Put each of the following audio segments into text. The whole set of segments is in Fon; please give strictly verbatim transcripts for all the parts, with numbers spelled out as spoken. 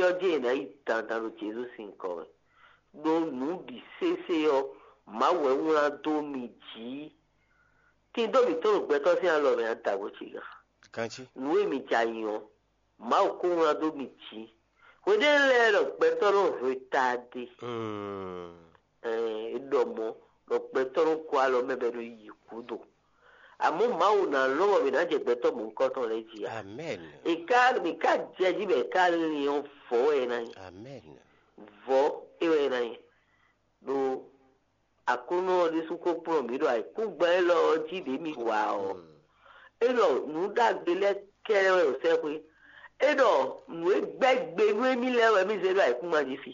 ɔ́ jɛ́n è nǎ yi dandan ɖo Jezu sín nyǐkɔ mɛ. Ɖó nǔ bǐ sésé ɔ́, Mawu wɛ wlán dó mi jǐ. Tindó mǐtɔn ɖo gbɛtɔ́ sín alɔ mɛ ǎ, dǎgbó ce gǎn. Ganjí. Nǔ e mi jɛ ayǐ ɔ́, Mawu ko wlán dó mi jǐ. Hweɖěnu lɛ́ɛ ɖɔ gbɛtɔ́ nɔ hwe taɖe. Mm. Ɛɛ, é ɖɔ mɔ̌ ɖɔ gbɛtɔ́ nɔ gɔ́ alɔ mɛ bɔ é nɔ yi gǔdo. Amɔ̌ Mawu ná lɔn bɔ mǐ ná jɛ gbɛtɔ́ mɔ̌hunkɔtɔn lɛ́ɛ jí ǎ. Amɛn. È ká mǐ ká jɛ jí bɔ è ká lin ɔ́, vɔ̌ wɛ é ná nyí. Amɛn. Vɔ̌ é wɛ é ná nyí. Ɖó Aklúnɔ ɔ́ ɖésú ko kplɔ́n mǐ ɖo ayǐkúngban élɔ́ ɔ́ jí ɖě mǐ wa ɔ́. Mm. É ɖɔ nǔ ɖagbe lɛ́ɛ kɛ́ɖɛ́ wɛ ɖo sɛ́xwé. É ɖɔ nǔ e gbɛ́ gbe nú émí lɛ́ɛ wɛ mǐ zé ɖo ayǐkúngban jí fi.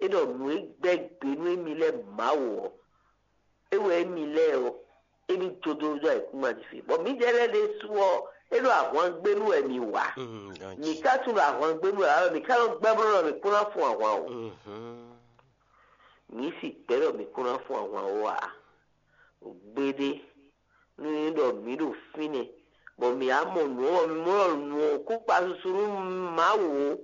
É ɖɔ nǔ e gbɛ́ gbe nú émí lɛ́ɛ Mawu ɔ́, é wɛ émí lɛ́ɛ ɔ́, émí jó dó ɖo ayǐkúngban jí fi. Bɔ mǐdɛɛ lɛ́ɛ ɖésú ɔ́, é ɖo ahwangbénu wɛ mǐ wa. Mm, ganjí. Mǐ ka tunwun ɖɔ ahwangbénu wɛ ǎ, mǐ ka nɔ gbɛ́ bló ɖɔ mǐ kún ná fun ahwan o. Mhm. Mǐ si gbɛ̌ ɖɔ mǐ kún ná fun ahwan ó ǎ. Gbeɖé, nú é nyí ɖɔ mǐ ɖo fínɛ́, bɔ mǐ wá mɔ nǔ ɔ́, bɔ mǐ mɔ ɖɔ nǔ ɔ́ kún kpa susu nú Mawu ó.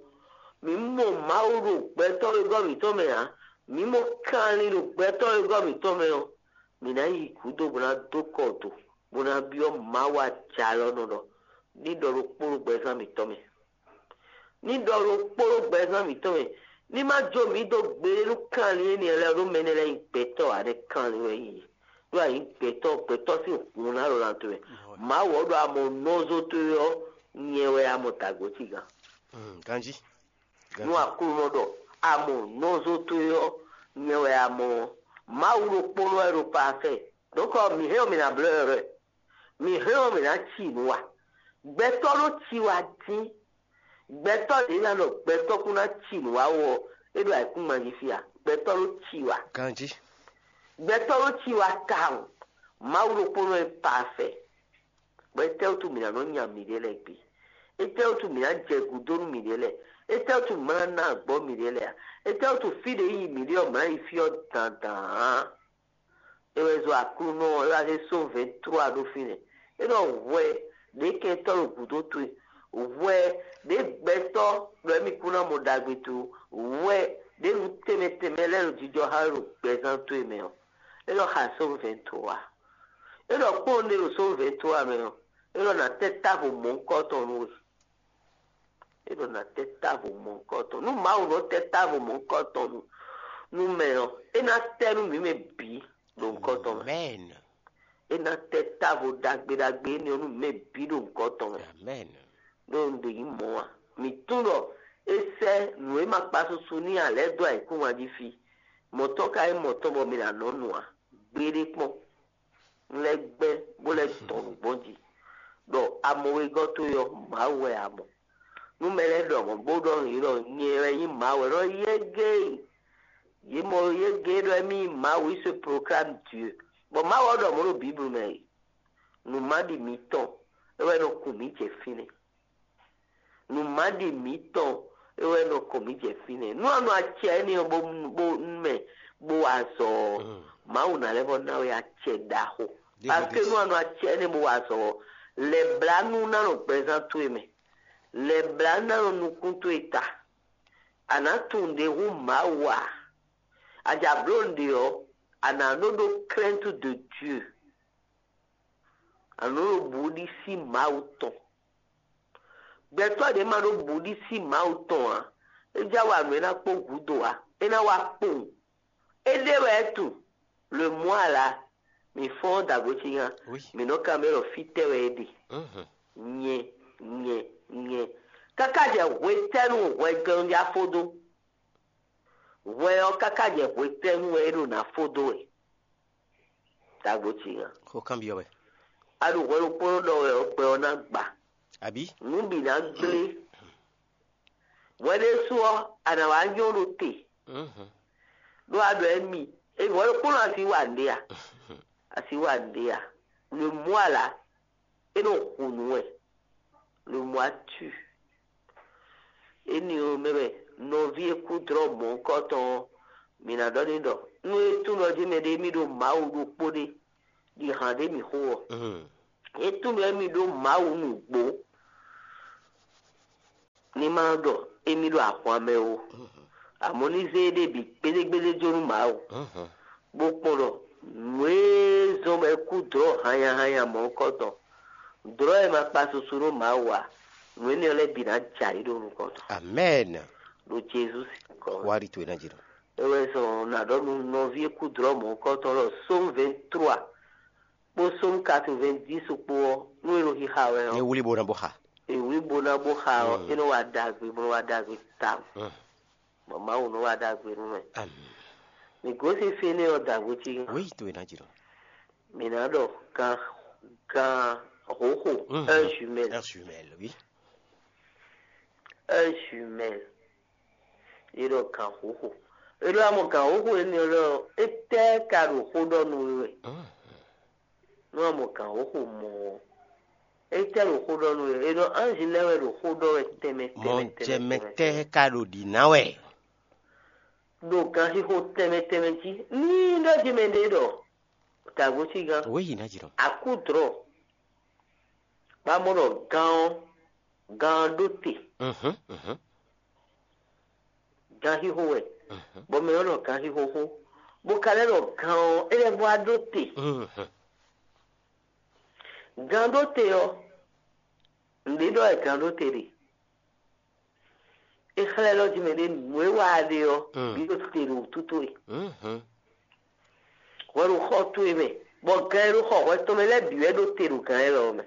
Mǐ mɔ Mawu ɖo gbɛtɔ́ wegɔ́ mǐtɔn mɛ ǎ. Mǐ mɔ kanlin ɖo gbɛtɔ́ wegɔ́ mǐtɔn mɛ ɔ́, mǐ ná yi gǔdo bó ná dó kɔ do, bó ná byɔ́ Mawu ajalɔ̌nɔ ɖɔ ní ɖɔ ɖokpó ɖo gbɛzán mǐtɔn mɛ. Ní ɖɔ ɖokpó ɖo gbɛzán mǐtɔn mɛ, ní má jó mǐ dó gbeɖé nú kanlin énɛ́ lɛ́ɛ ɖó mɛ énɛ́ lɛ́ɛ nyí gbɛtɔ́ ǎ, ɖɛ̌ kanlin wɛ nyí yě. Ɖó a nyǐ gbɛtɔ́, gbɛtɔ́ sín hun ná ɖo lan towe mɛ. Mawu ɔ́ ɖɔ a mɔ nɔzo towe ɔ́, nyɛ wɛ a mɔ dǎgbó ci gán. Mm, ganjí. Nú Aklúnɔ ɖɔ a mɔ nɔzo towe ɔ́, nyɛ wɛ a mɔ ɔ́. Mawu ɖokpónɔ wɛ ɖo parfait. Donc mǐ hɛn ɔ́, mǐ ná blɔ́ ɛ ɖɔ mǐ hɛn ɔ́, mǐ ná ci nǔ wa. Gbɛtɔ́ ɖó ci wa dín. Gbɛtɔ́ ɖě ná ɖɔ gbɛtɔ́ kún ná ci nǔ wa wú ɔ́, é ɖo ayǐkúngban jí fí a? Gbɛtɔ́ ɖó ci wa. Ganjí. Gbɛtɔ́ ɖó ci wa tawun. Mawu ɖokpónɔ e parfait. Bɔ étɛ́wútu mǐ ná nɔ nya mǐɖée lɛ́ɛ gbé? Étɛ́wútu mǐ ná jɛ gǔdo nú mǐɖée lɛ́ɛ? Étɛ́wútu mǐ ná ná agbɔ̌ mǐɖée lɛ́ɛ a? Étɛ́wútu fí ɖě yi mǐɖée ɔ́, mǐ ná yi fí ɔ́ dandan ǎ? É wɛ zɔ Aklúnɔ ɔ́, é wá zé sɔ́ vɛ̌ntrua ɖó fínɛ́. É ɖɔ hwɛ ɖě kɛntɔ́ ɖo gǔdo towe, hwɛ ɖě gbɛtɔ́ ɖɔ émí kún ná mɔ ɖagbe towe, hwɛ ɖě nǔ tɛnmɛ tɛnmɛ lɛ́ɛ ɖo jijɔ xá we ɖo gbɛzán towe mɛ ɔ́, é ɖɔ xa sɔ́ vɛ̌ntrua. É ɖɔ kpɔ́n ɖé ɖo sɔ́ vɛ̌ntrua mɛ ɔ́, é ɖɔ ná tɛ́ távo mɔ̌hunkɔtɔn nú we. É ɖɔ ná tɛ́ távo mɔ̌hunkɔtɔn. Nú Mawu nɔ tɛ́ távo mɔ̌hunkɔtɔn nú, nú mɛ ɔ́, é ná tɛ́ nú mǐ mɛ bǐ ɖo nukɔntɔn mɛ. Amen. É ná tɛ́ távo ɖagbe ɖagbe énɛ́ ɔ́ nú mǐ mɛ bǐ ɖo nukɔntɔn mɛ. Amen. Ɖó un ɖe nyǐ mɔ̌ ǎ. Mǐ tunwun ɖɔ é sɛ́ nǔ e ma kpa susu n'i ǎ lɛ́ɛ dó ayǐkúngban jí fí. Mɔ̌ tɔn ka nyí mɔ̌ tɔn bɔ mi ná nɔ nu ǎ. Gbeɖé kpɔ́n. Un lɛ́ gbɛ́ bó lɛ́ dɔn nǔgbɔn jí, ɖɔ a mɔ wegɔ́ towe ɔ́, Mawu wɛ a mɔ. Nú mɛ lɛ́ɛ ɖɔ mɔ̌ bó ɖɔ nǔ ɖɔ nyɛ wɛ nyí Mawu wɛ, ɖɔ yɛ́gɛ́ e, yě mɔ yɛ́gɛ́ e ɖɔ émí nyí Mawu, il se proclame Dieu. Bɔ Mawu ɔ́ ɖɔ mɔ̌ ɖo Biblu mɛ e, nǔmaɖi mǐtɔn é wɛ nɔ kun mǐ jɛ fínɛ́. Nǔmaɖi mǐtɔn é wɛ nɔ kɔn mǐ jɛ fínɛ́. Nú a nɔ acɛ énɛ́ ɔ́ bó bó nú mɛ bó wa azɔ̌ ɔ́, Mawu ná lɛ́ vɔ ná we acɛ ɖaxó. Parce que nú a nɔ acɛ énɛ́ bó wa azɔ̌ ɔ́, lɛ̌blánú ná nɔ gbɛzán towe mɛ, lɛ̌blánú ná nɔ nukún towe ta. A nǎ tunwun nǔɖé hú Mawu ǎ. A ja bló nǔɖé ɔ́, a nǎ nɔ ɖó crainte de Dieu. A nǎ nɔ ɖó bǔɖísí Mawu tɔn. Gbɛtɔ́ ɖě ma ɖó bǔɖísí Mawu tɔn ǎ, é já wa nǔ e ná kpó gǔdo ǎ; é ná wá kpowun. Éɖée wɛ é tunwun. Le mɔ̌ ala, mǐ fɔ́n ɔ́ dǎgbo cígan, Oui. Mǐ nɔ kanbyɔ́ ɖɔ fítɛ́ wɛ é ɖe. Mhm. Nyɛ, nyɛ, nyɛ. Káká jɛ hwetɛ́nu hwɛjɔnjá fó dó? Hwɛ ɔ́ káká jɛ hwetɛ́nu wɛ é ɖo ná fó dó wɛ? Dǎgbo cígan. Xó kanbyɔ́ wɛ. A ɖo hwɛ ɖokpónɔ ɖɔ wɛ ɔ́, gbɛ ɔ́ ná gba. Abǐ? Nǔ bǐ ná gblé. Hwɛ ɖésú ɔ́, a nǎ wá nyɔ́ ɖo te. Mhm. Ɖó a ɖɔ émí, é hwɛ ɖokpónɔ a si wa nǔɖé a? A si wa nǔɖé a? Le mɔ̌ ala, é nɔ hu nǔ wɛ. Le mɔ̌ a tu. Énɛ́ ɔ́ mɛ wɛ nɔví e kú dlɔ́ mɔ̌hunkɔtɔn ɔ́, mǐ ná ɖɔ n'i ɖɔ nú é tunwun ɖɔ jí mɛɖé émí ɖo Mawu ɖokpó ɖé, ɖi hǎn ɖé mǐ xo ɔ́, Mhm. É tunwun ɖɔ émí ɖó Mawu nǔgbó. ní má ɖɔ émí ɖo ahwan mɛ ó. Amɔ̌ ní zé éɖée bǐ gbédégbédé jó nú Mawu, bó kpɔ́n ɖɔ nǔ e zɔ́n bɔ é kú dlɔ̌ hannyahannya mɔ̌hunkɔtɔn, dlɔ̌ e ma kpa susu nú Mawu ǎ, nǔ énɛ́ lɛ́ɛ bǐ ná jɛ ayǐ ɖo nukɔn tɔn. Amɛ́ɛn. Ɖo Jezu sín nyǐkɔ mɛ. Wá ɖi towe ná jǐ ɖɔ. É wɛ zɔn nǎ ɖɔ nú nɔví e kú dlɔ̌ mɔ̌hunkɔtɔn lɔ Sómu vɛ̌ntrua kpó Sómu katɔ́ɔ́n-vɛ́-dísi kpó ɔ́, nú è nɔ xixa wɛ ɔ́, Ní wlí bó ná bó xa. È wlí bó ná bó xa ɔ́, é nɔ wa ɖagbe, bó nɔ wa ɖagbe tawun. Bɔ Mawu nɔ wa ɖagbe nú mɛ. Mǐ gosín fínɛ́ ɔ́, dǎgbó cí. Wěyi towe ná jǐ ɖɔ. Mǐ ná ɖɔ gan gan hǒxo, un jumelle. Un jumelle, oui. Un jumelle. É ɖɔ gan hǒxo. É ɖɔ amɔ gan hǒxo énɛ́ lɔ, étɛ́ ka ɖo xó ɖɔ nú we wɛ? Nú amɔ gan hǒxo mɔ ɔ́, étɛ́ ɖo xó ɖɔ nú we? É ɖɔ anji lɛ́ɛ wɛ ɖo xó ɖɔ wɛ tɛnmɛ tɛnmɛ tɛnmɛ tɛnmɛ. Mɔjɛmɛtɛ́ ka ɖo ɖǐ ná wɛ? Ɖo ganxixo tɛnmɛ tɛnmɛ jí. Ní ɖɔ jí mɛ ɖé ɖɔ dǎgbó cí gán. Wěyi ná jǐ ɖɔ. Akúdrɔ. Bá mɔ ɖɔ gán ɔ́, gán ɔ́ ɖó te. Mhm, mhm. Ganxixo wɛ. Mhm. Bɔ mɛ ɔ́ ɖɔ ganxixo xó. Bó ka lɛ́ ɖɔ gán ɔ́, é lɛ́ vɔ wá ɖó te. Mhm. Gán ɖó te ɔ́, nǔɖé ɖɔ wɛ gán ɖó te ɖe. É xlɛ́ ɖɔ jí mɛ ɖé nǔ e wa ɖe ɔ́, bǐ ɖo te ɖo wútu towe. Hwɛ ɖo xɔ towe mɛ, bɔ gan e ɖo xɔ hwɛ tɔn mɛ lɛ́ɛ bǐ wɛ ɖo te ɖo gan élɔ́ mɛ.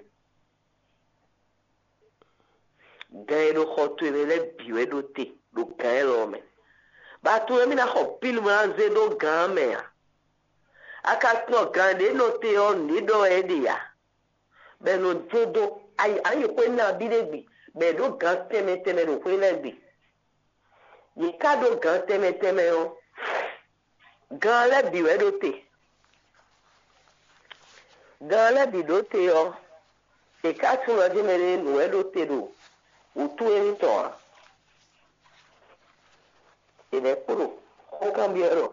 Gan e ɖo xɔ towe mɛ lɛ́ɛ bǐ wɛ ɖo te ɖo gan élɔ́ mɛ. Bɔ a tunwun émí ná xɔ pílu bó ná zé ɖó gan ɔ́ mɛ ǎ. A ka tunwun gan ɖě nɔ te ɔ́, nǔɖé ɖɔ wɛ é ɖe ǎ. Bɔ è nɔ jɛ́n dó ayi ayixwé nabí ɖé gbe, bɔ è ɖǒ gǎn tɛnmɛ tɛnmɛ ɖo xwé lɛ́ɛ gbe. Yě ká ɖó gǎn tɛnmɛ tɛnmɛ ɔ́, gǎn lɛ́ɛ bǐ wɛ ɖó te. Gǎn lɛ́ɛ bǐ ɖó te ɔ́, è ká tunwun jí mɛ ɖé nǔ wɛ ɖó te ɖo wǔtu émítɔn ǎ. È lɛ́ kpo ɖo xó kanbyɔ́ ɖɔ: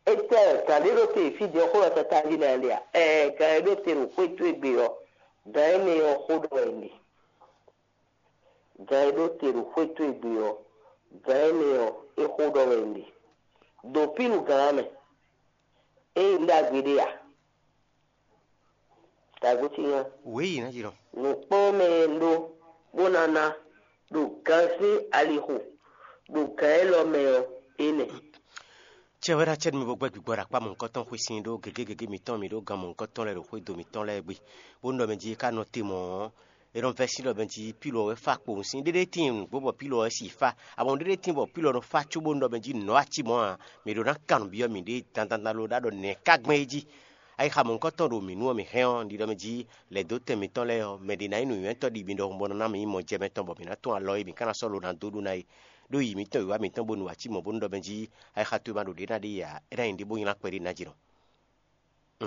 Étɛ́ gǎn ɖé ɖó te fí din ɔ́, xó lɔ tata jí nɛ́ ɖe a? Ɛɛ, gǎn e ɖó te ɖo xwé towe gbe ɔ́, gǎn énɛ́ ɔ́ xó ɖɔ wɛ un ɖe. Gǎn e ɖó te ɖo xwé towe gbe ɔ́, gǎn énɛ́ ɔ́, é xó ɖɔ wɛ un ɖe. Ɖo pínu gǎn ɔ́ mɛ, ényí un ɖó agbe ɖé a? Tagbó cí nya. Wěyi ná jínɔ. Nǔkpɔ́n mɛ e un ɖó bó ná ná ɖo gan sín alixo ɖo gǎn élɔ́ mɛ ɔ́, é nɛ́. Cɛ wɛ ná cɛ nú mi bó gbɛ́ gbigbɔ ɖo akpá mɔ̌hunkɔtɔn xwé sin ɖó gěgé gěgé mitɔn, mi ɖó gan mɔ̌hunkɔtɔn lɛ́ɛ ɖo xwédo mitɔn lɛ́ɛ gbe, bónú ɖɔ mɛ jí é ká nɔ te mɔ̌ ɔ́, é nɔ vɛ́ sín ɖɔ mɛ jí pílɔ wɛ fá kpowun sín. Ɖéɖé tíin nǔgbó bɔ pílɔ wɛ si fá, amɔ̌ ɖéɖé tíin bɔ pílɔ nɔ fá cóbónú ɖɔ mɛ jí nǔ nɔ́ wá cí mɔ̌ ǎ. Mǐ ɖó ná kan nǔ byɔ́ mǐɖée dandan lo ɖó ɖɔ nɛ̌ ká gbɛn é jí. Ayixa mɔ̌hunkɔtɔn ɖo mǐ nu ɔ́, mǐ hɛn ɔ́, un ɖi ɖɔ mɛ jí lɛ̌ dó tɛn mǐtɔn lɛ́ɛ ɔ́, mɛ ɖě ná nyí nǔnywɛ́tɔ́ ɖi mi ɖɔhun bɔ nɔ ná mǐ nyí mɔjɛmɛtɔn bɔ mǐ ná tún alɔ e mǐ ka ná sɔ́ lo ná dó ɖu ná é. Ɖó yi mǐtɔn wǐwá mǐtɔn bónú wǎ cí mɔ̌ bónú ɖɔ mɛ jí ayixa towe ma ɖo ɖě ná ɖe yi ǎ, é ná nyí ɖě bó nylá kpɛɖé ná jǐnɔ.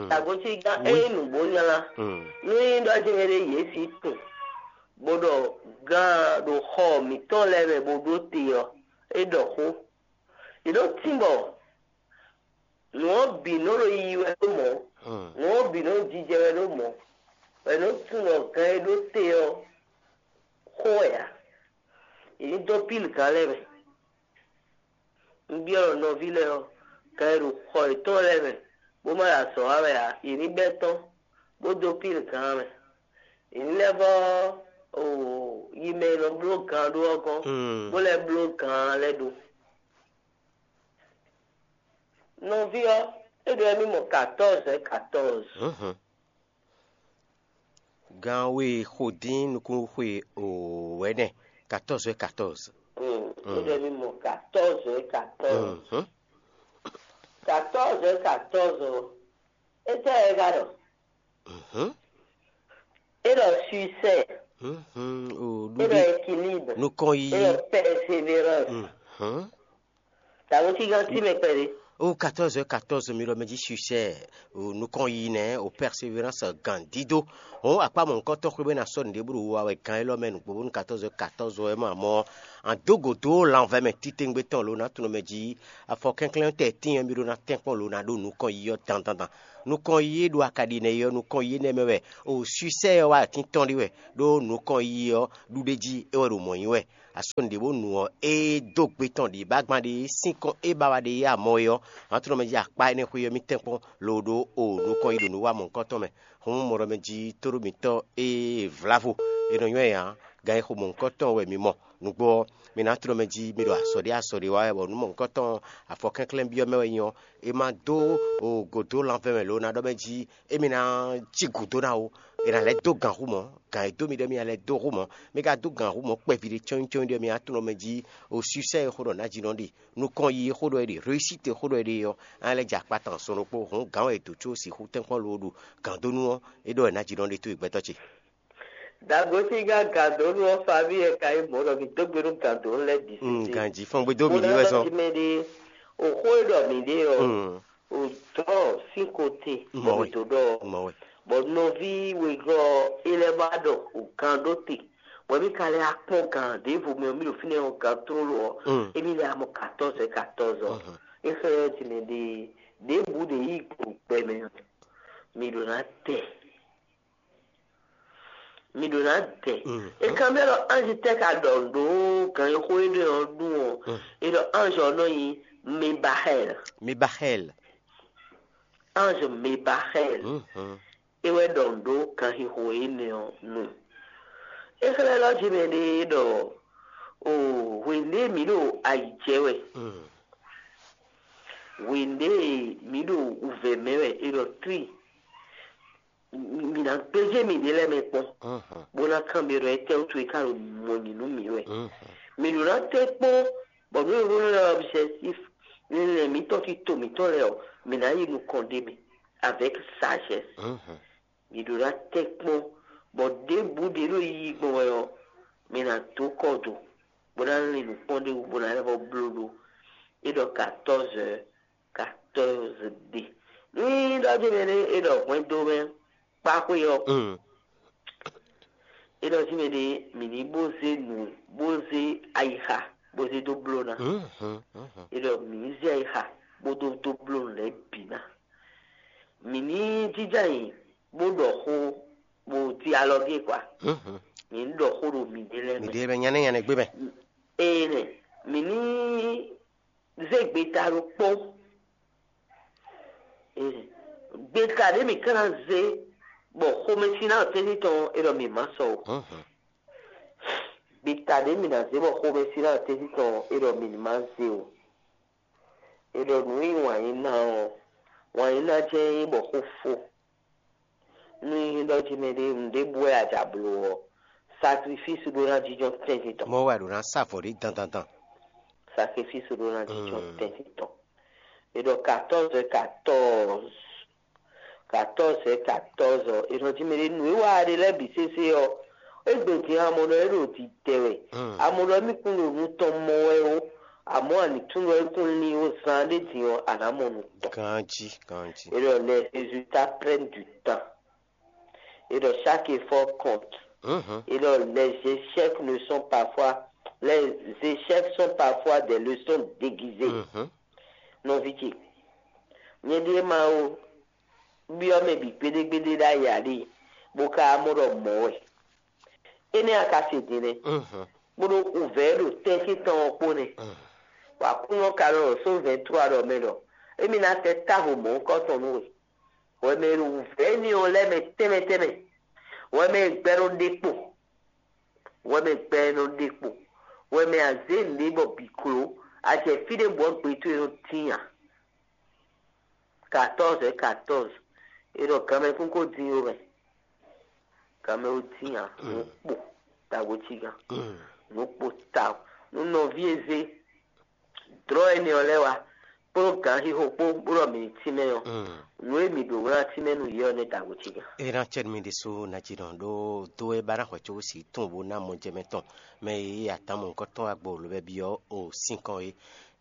Tagbócígán ényí nǔgbó nylá, nú nyí ɖɔ jɛ́n ɖé yě sí tunwun, bó ɖɔ gán ɖo xɔ mǐtɔn lɛ́ɛ mɛ bó ɖó te ɔ́, é ɖɔ xó. Yě ɖó tínbɔ nǔ ɔ́ bǐ nɔ ɖo yiyi wɛ ɖó mɔ̌, nǔ ɔ́ bǐ nɔ jijɛ wɛ ɖó mɔ̌, bɔ è nɔ tunwun ɖɔ gán e ɖó te ɔ́ xó wɛ ǎ. Yě ní dó pílgǎn lɛ́ɛ mɛ. Un byɔ́ nɔví lɛ́ɛ ɔ́, gǎn e ɖo xɔ yětɔn lɛ́ɛ mɛ, bó ma ɖo azɔ̌ wa wɛ ǎ, yě ní bɛ́ tɔ́n, bó dó pílgǎn mɛ. Yě ní lɛ́ vɔ́ yi mɛ e nɔ bló gǎn ɖó ɔ́ gɔ́n, bó lɛ́ bló gǎn lɛ́ɛ ɖó. Nɔví ɔ́, é ɖɔ émí mɔ katɔ́ɔzɛ katɔ́ɔzɛ. Gan we xo dín nukúnxwe wɛ̌nɛ, katɔ́ɔzɛ katɔ́ɔzɛ. Mm, ó ɖɔ émí mɔ katɔ́ɔzɛ katɔ́ɔzɛ. Mhm. Katɔ́ɔzɛ katɔ́ɔzɛ ɔ́, étɛ́ wɛ é ka ɖɔ? Mhm. É ɖɔ suicide. Mhm. O, é ɖɔ équilibre. Nukɔn yi. É ɖɔ persévérance. Mhm. Tàbí tí gán tí mɛ kpɛɖé. O katɔ́ɔzɛ katɔ́ɔzɛ mi ɖɔ mɛ jí suicide. O nukɔn yi nɛ o persévérance gan dídó. O akpá mɔ̌hunkɔtɔn xwé bɛ ná sɔ́ nǔɖé bó ɖo wa wɛ gan élɔ́ mɛ nǔgbó bónú katɔ́ɔzɛ katɔ́ɔzɛ wɛ ma mɔ. An dó gǒ dó lanvɛ mɛ titewungbe tɔn lo ná tunɔ mɛ jí. Afɔ kɛnklɛ́n tɛ tíin ɔ́, mì ɖó ná tɛ́nkpɔ́n lo ná ɖó nukɔn yi ɔ́ dandandan. Nukɔn yi e ɖo akaɖi nɛ́ yi ɔ́, nukɔn yi énɛ́ mɛ wɛ o suisɛ ɔ́ wá atín tɔn ɖé wɛ, ɖó nukɔn yi ɔ́ ɖuɖéjí é wɛ ɖo mɔ̌ nyi wɛ. Asɔ́ nǔɖé bó nu ɔ́, é dó gbe tɔn ɖě bá gban ɖé sín kɔn é ba wá ɖe yá mɔ é ɔ́, an tunɔ mɛ jí akpá énɛ́ xwé ɔ́ mì tɛ́nkpɔ́n lo ɖó o nukɔn yi ɖo nǔ wa mɔ̌hunkɔtɔn mɛ. Hǔn mɔ ɖɔ mɛ jí tóɖó mǐtɔn e vlávo è nɔ nywɛ́ ǎ, gan e xo mɔ̌hunkɔtɔn wɛ mi mɔ. Nǔgbó ɔ́, mi ná tló mɛ jí mi ɖo azɔ̌ ɖé azɔ̌ ɖé wa wɛ, bɔ nǔ mɔ̌hunkɔtɔn afɔ kɛnklɛ́n byɔ́ mɛ wɛ nyí ɔ́, é má dó gǒdó lanvɛ́ mɛ lǒ ná ɖɔ mɛ jí émí ná cí gǔdo ná ó. È nǎ lɛ́ dó gǎn hú mɔ̌, gǎn e dó mi ɖɔ émí ná lɛ́ dó hú mɔ̌. Mi ka dó gǎn hú mɔ̌ kpɛví ɖé cɔ́nyi cɔ́nyi ɖɔ mi ná tló mɛ jí o suisɛ e xó ɖɔ nǎjínɔ ɖe, nukɔn yi e xó ɖɔ é ɖe, réussite e xó ɖɔ é ɖe ɔ́, á lɛ́ jɛ akpá tɔn sɔn ɖokpó hǔn gǎn wɛ è dǒ có sixú tɛ́nkpɔ́n loo ɖu gǎndónú ɔ́, é ɖɔ è nǎjínɔ ɖe towe gbɛtɔ́ ce. Dagoti gán gǎndónú ɔ́, Fabi wɛ ka nyí mɔ̌ ɖɔ mǐ dó gbe nú gǎndónú lɛ́ɛ bǐ Mm, sésé. Ganji fɔn gbe dó Bó mǐ ná ɖi wɛ ɖɔ zɔn. Jí mɛ ɖé, o xó e ɖɔ mǐ ɖe ɔ́, Mm, o dɔ̌ sín ko te bɔ Mɔ̌ mǐ wɛ. Dó ɖɔ ɔ́. Mɔ̌ wɛ. Bɔ nɔví wegɔ́ ɔ́, é lɛ́ wá ɖɔ o gǎn ɖó te, bɔ mǐ ka lɛ́ wá kpɔ́n gǎn ɖěvo mɛ ɔ́, mǐ ɖo fínɛ́ ɔ́ gǎn tlóló ɔ́, Mm. émí lɛ́ wá mɔ katɔ́ɔ́zɛ katɔ́ɔ́zɔ. Mhm. É xlɛ́ ɔ́ jí mɛ ɖě ɖěbǔ ɖě yí gbɔ gbɛ mɛ ɔ́, mǐ ɖo ná tɛ. Mi ɖo ná dɛ. Mm. E kan bɛ ɖɔ anji tɛ ka ɖɔ ɖo ganxixo e ɖe ɔ́ nu ɔ́. Mm. E ɖɔ anji ɔ́ nɔ nyi Mebahɛl. Mebahɛl. Anji Mebahɛl. Mhm. E wɛ ɖɔ ɖo ganxixo énɛ́ ɔ́ nu. E xlɛ́ ɖɔ jí mɛ ɖe ɖɔ o hwěndé mǐ ɖo ayi jɛ wɛ. Mm. Hwěndé mǐ ɖo wǔvɛ́ mɛ wɛ e ɖɔ tri. Mi ná gbéjé miɖée lɛ́ɛ mɛ kpɔ́n, Mhm. bó ná kanbyɔ́ ɖɔ étɛ́ wútu é ka ɖo mɔ nyi nú mǐ wɛ. Mhm. Mi ɖo ná tɛ́ kpɔ́n, bɔ nú e hwlɛ́n ɔ́ objectif linlɛn mǐtɔn tito mǐtɔn lɛ́ɛ ɔ́, mǐ ná yi nukɔn ɖ'é mɛ avec sagesse. Mhm. Mi ɖo ná tɛ́ kpɔ́n, bɔ ɖěbǔ ɖě ɖo yiyi gbɔn wɛ ɔ́, mi ná dó kɔ do, bó ná lin nǔkpɔ́n ɖé wú, bó ná lɛ́ vɔ bló ɖó. É ɖɔ quatorze heures, quatorze ɖe. Ní ɖɔ jí mɛ ɖé é ɖɔ hwɛndo mɛ kpáxwé ɔ́, Mm. é ɖɔ jí mɛ ɖé mǐ ní bó zé nǔ, bó zé ayixa, bó zé dó bló ná. Mhm, mhm. É ɖɔ mǐ ní zé ayixa bó dó dó bló nǔ lɛ́ɛ bǐ ná. Mǐ ní jínjɔ́n ayǐ bó ɖɔ xó bó cí alɔ gé kwa. Mhm. Mǐ ní ɖɔ xó ɖo mǐɖée lɛ́ɛ mɛ. Mǐɖée lɛ́ɛ nyanɛ nyanɛ gbé mɛ. Ee nɛ, mǐ ní zé gbeta ɖokpó. Ee, gbeta ɖě mǐ ka ná zé bɔ xomɛsin ná tɛ́ntin tɔn é ɖɔ mǐ má sɔ o. Mhm. Gbeta ɖě mǐ ná zé bɔ xomɛsin ná tɛ́ntin tɔn é ɖɔ mǐ ní má zé o. É ɖɔ nǔ e nyí wǎn yí ná ɔ́, wǎn yí ná jɛ́n nyí bɔ xó fó. Nú nyí ɖɔ jí mɛ ɖé nǔɖé bú wɛ a ja bló ɔ́, sakrifísi ɖó ná jínjɔ́n tɛ́ntin tɔn. Mɔ̌ wɛ a ɖǒ ná sa avɔ ɖé dandandan. Sakrifísi ɖó ná jínjɔ́n Mm. tɛ́ntin tɔn. È ɖɔ quatorze quatorze, quatorze quatorze ɔ́, è nɔ jí mɛ ɖé nǔ e wa ɖe lɛ́ɛ bǐ sésé ɔ́, égbé din amɔ ɖɔ é ɖo didɛ wɛ. Mm. Amɔ ɖɔ émí kún ɖo nú tɔn mɔ wɛ ó, amɔ̌ a ní tunwun ɖɔ é kún lín ó zán ɖé din ɔ́, a nǎ mɔ nǔ tɔn. Ganjí, ganjí. Et donc, les résultats prennent du temps. Et donc, chaque effort compte. Mhm. Et donc, les échecs ne sont parfois, les échecs sont parfois des leçons déguisées. Mhm. Nɔví ce, nyɛ ɖíe Mawu byɔ́ mɛ bǐ gbéɖégbéɖé ɖ'ayǐ ǎ ɖe, bó ka mɔ ɖɔ mɔ̌ wɛ. Énɛ́ a ka se din nɛ́, Mhm. bó ɖó wǔvɛ́ ɖo tɛ́ntin tɔn ɔ́ kpó nɛ́. Mhm. Bɔ Aklúnɔ ka ɖɔ ɖo Sómu vɛ̌ɛn tlú ɖɔ mɛ ɖɔ émí ná tɛ́ távo mɔ̌hunkɔtɔn nú we. Hwɛ mɛ e ɖo wǔvɛ́ énɛ́ ɔ́ lɛ́ɛ mɛ tɛnmɛ tɛnmɛ, hwɛ mɛ e gbɛ nɔ ɖe kpo, hwɛ mɛ gbɛ nɔ ɖe kpo, hwɛ mɛ a zě nǔɖé bɔ bǐ kló, a jɛ fí ɖé bɔ gbe towe nɔ tín ǎ. Quatorze é quatorze. E ɖɔ ganmɛkún ko dín ó mɛ. Ganmɛ ó dín ǎ. Nǔ kpo tawo cí gán. Nǔ kpo tawo. Nú nɔví e zé dlɔ̌ énɛ́ ɔ́ lɛ́ɛ wá kplɔ́n gǎn xixo kpó bó ɖɔ mǐ ní tínmɛ ɔ́, nǔ e mǐ ɖǒ ná tínmɛ nú yě ɔ́ nɛ́ tawo cí gán. É ná cɛ́ nú mì ɖésú ná jí nɔ ɖó dó é ba ná xwɛ có sí tún bó ná mɔ jɛ mɛ tɔn mɛ e yí atán mɔ̌hunkɔtɔn wá gbɔ lǒ bɛ́ byɔ́ o sín kɔn é.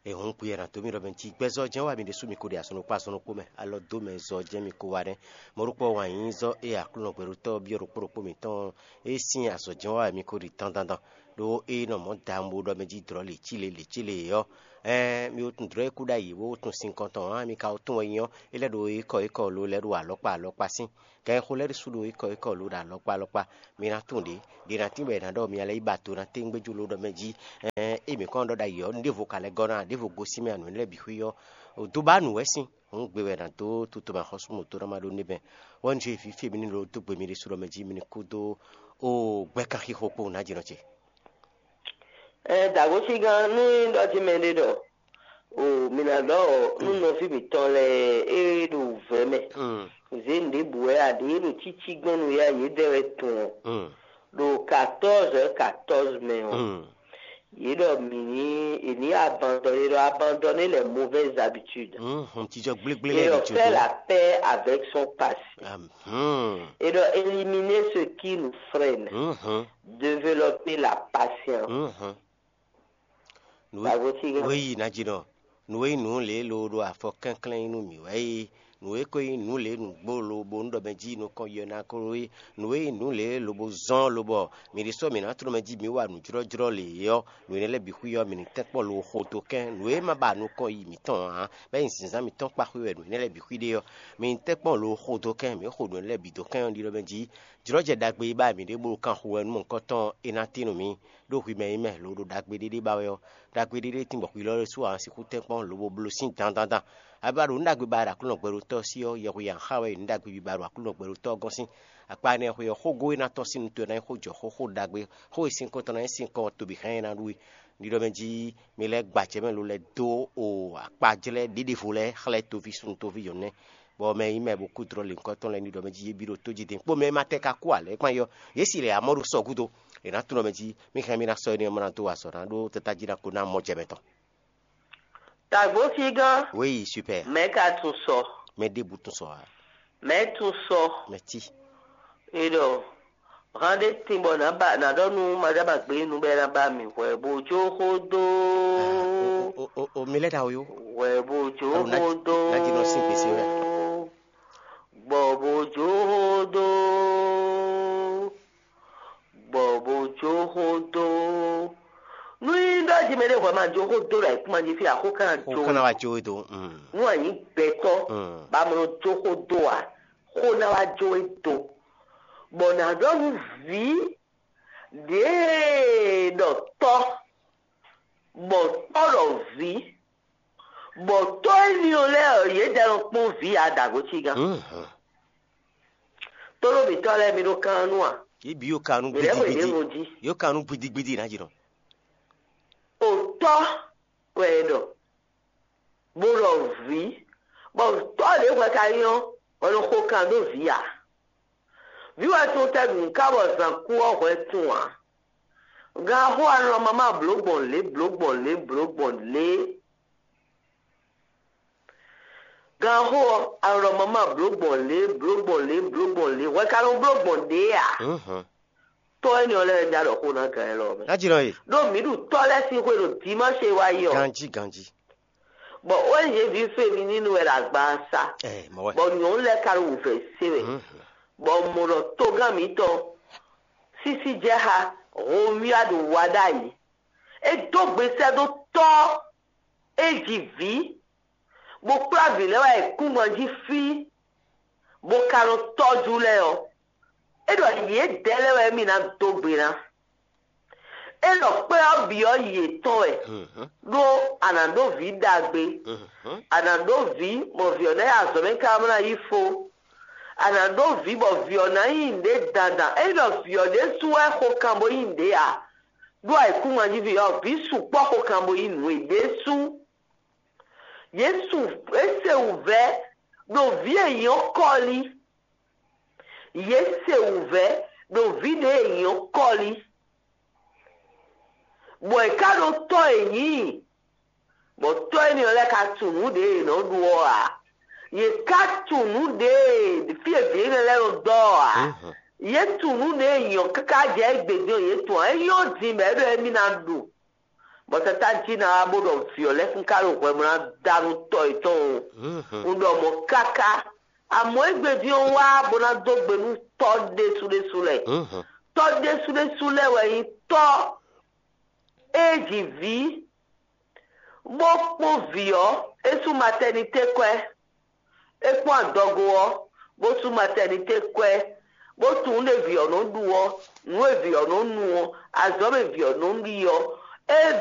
È hǔn kpuyɛ ná dó mì ɖɔ mɛ jí gbɛzɔ́ jɛ́n wá mi ɖésú mi ko ɖi azɔn ɖokpó azɔn ɖokpó mɛ, alɔ dó mɛ zɔ jɛ́n mi ko wá nɛ́. Mɔ̌ ɖokpó wǎn nyí zɔ́ e Aklúnɔ gbɛɖótɔ́ byɔ́ ɖokpó ɖokpó mǐtɔn é sín azɔ̌ jɛ́n wá wɛ mi ko ɖi dandandan. Ɖó é nɔ mɔ̌ dawun bó ɖɔ mɛ jí dlɔ̌ lě cí lě lě cí lě ɔ́, ɛɛn mi wo tunwun dlɔ̌ e kú ɖ'ayǐ bó tunwun sinkɔn tɔn ǎ, mi ka wo tunwun wɛ nyí ɔ́, é lɛ́ ɖo é kɔ é kɔ lo lɛ́ ɖo alɔkpa alɔkpa sín. Gǎn e xo lɛ́ ɖésú ɖo é kɔ é kɔ lo ɖo alɔkpa alɔkpa. Mi ná tunwun ɖě ɖě ná tín bɔ è nǎ ɖɔ mi lɛ́ yi ba do ná téŋgbéjú lo ɖɔ mɛ jí, ɛɛn é mǐ kɔn ɖɔ ɖ'ayǐ ɔ́, ɖěvo ka lɛ́ gɔ́ ná, ɖěvo gosín mɛ ǎ, nǔ énɛ́ lɛ́ɛ bǐ xwí ɔ́, dó ba nǔ wɛ sín. Hǔn gbe wɛ è nǎ dó tutomɛ axɔ́sú mɔ̌ dó ná ma ɖó nɛ́ bɛn. Wɛ́nú jí vǐ fí e mi ní ɖo dó gbe mi ɖésú ɖɔ mɛ jí mi ní kú dó o gbɛ́ kanxixo kpó nǎjínɔ ce. Ɛ dǎgosígán nú é ɖɔ jí mɛɖé ɖɔ o mi ná ɖɔ nú nɔví mǐtɔn lɛ́ɛ e ɖo vɛ̌ mɛ zě nǔɖébǔ wɛ aɖě ɖo cící gbɔn nú yá yědɛɛ wɛ tun ɔ́, ɖo katɔ́ɔzɔ katɔ́ɔzɔ mɛ ɔ́, yě ɖɔ mǐ ní è ní abandɔn yě ɖɔ abandɔn n'i lɛ mauvaise habitude. Hum, jijɔ gblégblé Et lɛ́ɛ on ɖi fait tso la paix avec son passé. Hum. Et on éliminer ce qui nous freine. Hum. Développer la patience. Hum. Nǔ e Dagoti gã. Wéyi ná jí nɔ. Nǔ e nyí nǔ lě e lo ɖo afɔ kɛnklɛ́n nyí nú mǐ wɛ é. Nǔ e ko nyí nǔ lě nǔgbó lo bo nú ɖɔ mɛ jí nukɔn yɔ ná ko é. Nǔ e nyí nǔ lě lobo zɔ́n lobɔ mǐ ɖésú mǐ ná tló mɛ jí mǐ wa nǔjlɔ́jlɔ́ lě é ɔ́, nǔ énɛ́ lɛ́ɛ bǐ xwí ɔ́, mǐ ní tɛ́nkpɔ́n lo xo dó kɛ́n. Nǔ e ma ba nukɔn yi mǐtɔn ǎ, bɔ é nyí zǐnzán mǐtɔn kpa xwé wɛ nǔ énɛ́ lɛ́ɛ bǐ xwí ɖe ɔ́, mǐ ní tɛ́nkpɔ́n lo xo dó kɛ́n, mǐ xo nǔ énɛ́ lɛ́ɛ bǐ dó kɛ́n ɔ́, ɖiɖɔ mɛ jí jlɔ́jɛ ɖagbe e ba mǐ ɖe bó ɖo kanxu wɛ nú mɔ̌hunkɔtɔn ɔ́, é ná tín nú mǐ. Ɖó hwi mɛ e nyí mɛ lo ɖo ɖagbe ɖé ɖé ba wɛ ɔ́, ɖagbe ɖé ɖé tín bɔ hwi lɔ ɖésú ǎ sixú tɛ́nkpɔ́n lobo bló sín dandandan. Abǐ ba ɖo nǔ ɖagbe ba ɖo Aklúnɔ gbɛɖótɔ́ ɔ́ sí ɔ́, yɛhweyi ǎ xa wɛ nyí nǔ ɖagbe biba ɖo Aklúnɔ gbɛɖótɔ́ ɔ́ gɔ́n sín. Akpa énɛ́ xwe ɔ́, xógó e ná tɔ́n sín nu towe ná nyí xó jɔ xó, xó ɖagbe, xó e sín kɔn tɔn ná nyí sín kɔn tobi hɛn e ná ɖu we. Ɖiɖɔ mɛ jí mi lɛ́ gba acɛ mɛ lo lɛ́ dó o akpajlɛ́ ɖěɖevo lɛ́ɛ xlɛ́ toví súnnu toví nyɔ̌nu nɛ́, bɔ mɛ e nyí mɛ bo kú dlɔ́ lěhunkɔtɔn lɛ́ɛ ní ɖɔ mɛ jí yě bǐ ɖo tó jí din kpó mɛ e ma tɛ́ ka kú ǎ lɛ́ɛ kpán yɔ, yě si lɛ amɔ́ ɖo sɔ́ gúdo. È nǎ tunwun ɖɔ mɛ jí mí hɛn mì ná sɔ́ énɛ́ ɔ́ má ná dó wa azɔ̌ ná ɖó tata jí ná ko ná mɔ jɛ mɛ tɔn. Tagbo sígán. Oui, super. Mɛ ka tún sɔ. Mɛ ɖěbǔ tún sɔ ǎ. Mɛ tún sɔ. Mɛ tí. Eɖɔ hán ɖé tin bɔ nǎ ba nǎ ɖɔ nú maɖábagbe nu bɔ é ná ba mì hwɛ bó jó xó dó. O, o, o, o, mi lɛ́ ɖa o yó. Hwɛ bó jó Alo, ná- xó dó. Ná jí nɔ sín gbèsè wɛ. Gbɔ bó jó xó dó. Gbɔ bó jó xó dó. Nú nyí ɖɔ jí mɛ ɖé hwɛ ma jó xó dó ɖo ayǐkúngban jí fí axó kan Xó jó. Kan ná wá jó we dó. Mm. Nú a nyǐ gbɛtɔ́ Mm. ba mlɔ jó xó dó a, xó ná wá jó we dó. Bɔ nǎ ɖɔ nú vǐ ɖěe ɖɔ tɔ́, bɔ tɔ́ ɖɔ vǐ, bɔ tɔ́ énɛ́ ɔ́ lɛ́ɛ ɔ́, yě jɛ nɔ kpɔ́n vǐ a dǎgó cí gán. Mhm. Tónú mǐtɔn lɛ́ɛ mi ɖó kan nú a? Yě bǐ yó ka nú Mǐ lɛ́ xweyǐ gbidigbidi. Ɖěvo jí. Yó ka nú gbidigbidi ná jǐ nɔ. Òtɔ́ wɛ è ɖɔ, bó ɖɔ vǐ, bɔ tɔ́ ɖě hwɛ ka nyí ɔ́, hwɛ nɔ xo kan dó vǐ ǎ. Vǐ wɛ tún tɛ́ ɖu nǔ ká bɔ zǎn kú ɔ́ hwɛ tún ǎ. Gan xó anɔ mama blǒ gbɔn lě blǒ gbɔn lě blǒ gbɔn lě. Gan xó ɔ́, anɔ mama blǒ gbɔn lě blǒ gbɔn lě blǒ gbɔn lě. Hwɛ ka nɔ bló gbɔn ɖě ǎ. Mhm. Tɔ́ énɛ́ ɔ́ lɛ́ɛ ja ɖɔ xó ná gan élɔ́ mɛ. Ná jínɔ e. Ɖó mǐ ɖu tɔ́ lɛ́ɛ sín xwé ɖo dimáṣe wá yi ɔ́. Ganjí ganjí. Bɔ O N G ví féminínu wɛ ɖo agban ɔ́ sá. Ɛ mɔ wɛ. Bɔ nyɔ̌nu lɛ́ɛ ka ɖo wǔvɛ́ sé wɛ. Mhm. Bɔ mɔ ɖɔ togán mǐtɔn sísí jɛ xá Romia ɖo wa ɖ'ayǐ. É dó gbe sɛ́ dó tɔ́ é ji vǐ, bó kplá vǐ lɛ́ɛ wá yi kúngban jí fí, bó ka nɔ tɔ́jú lɛ́ɛ ɔ́, é ɖɔ yědɛɛ lɛ́ɛ wɛ émí ná dó gbe ná. É ɖɔ kpɛ́ ɔ́ bǐ ɔ́ yětɔn wɛ, ɖó a nǎ ɖó vǐ ɖagbe, a nǎ ɖó vǐ bɔ vǐ ɔ́ ná yi azɔ̌ mɛ káká bó ná yí fó. A nǎ ɖó vǐ bɔ vǐ ɔ́ ná nyí nǔɖé dandan. É ɖɔ vǐ ɔ́ ɖésú wɛ xo kan bó nyí nǔɖé ǎ, ɖó ayǐkúngban jí vǐ ɔ́, vǐ sukpɔ́ xo kan bó nyí nǔ e ɖésú. Yě su é se wǔvɛ́ ɖo vǐ e nyí ɔ́ kɔ́lí. Yě se wǔvɛ́ ɖo vǐ ɖě e nyí ɔ́ kɔ́lí, bɔ è ká ɖó tɔ́ e nyǐ, bɔ tɔ́ énɛ́ ɔ́ lɛ́ɛ ka tunwun nǔ ɖě è nɔ ɖu ɔ́ ǎ. Yě ka tunwun nǔ ɖě e fí e vǐ énɛ́ lɛ́ɛ nɔ dɔ́ ɔ́ ǎ. Yě tunwun nǔ ɖě e nyǐ ɔ́ káká jɛ égbé din ɔ́, yě tunwun ǎ. É nyɔ́ din mɛ é ɖɔ émí ná ɖu. Bɔ Satan jí ná wá bó ɖɔ vǐ ɔ́ lɛ́ kún ka ɖo hwɛ bó ná da nú tɔ́ yětɔn o. Un ɖɔ mɔ̌ káká. Amɔ̌ égbé din ɔ́ wá bó ná dó gbe nú tɔ́ ɖésú ɖésú lɛ́ɛ. Tɔ́ ɖésú ɖésú lɛ́ɛ wɛ nyí tɔ́ Ée ji vǐ, bó kpɔ́n vǐ ɔ́, é sú matɛnité kwɛ́. É kpɔ́n adɔgo ɔ́, bó sú matɛnité kwɛ́, bó tunwun nú vǐ ɔ́ nɔ ɖu ɔ́, nǔ e vǐ ɔ́ nɔ nu ɔ́, azɔ̌ e vǐ ɔ́ nɔ ɖi ɔ́. Ée vǐ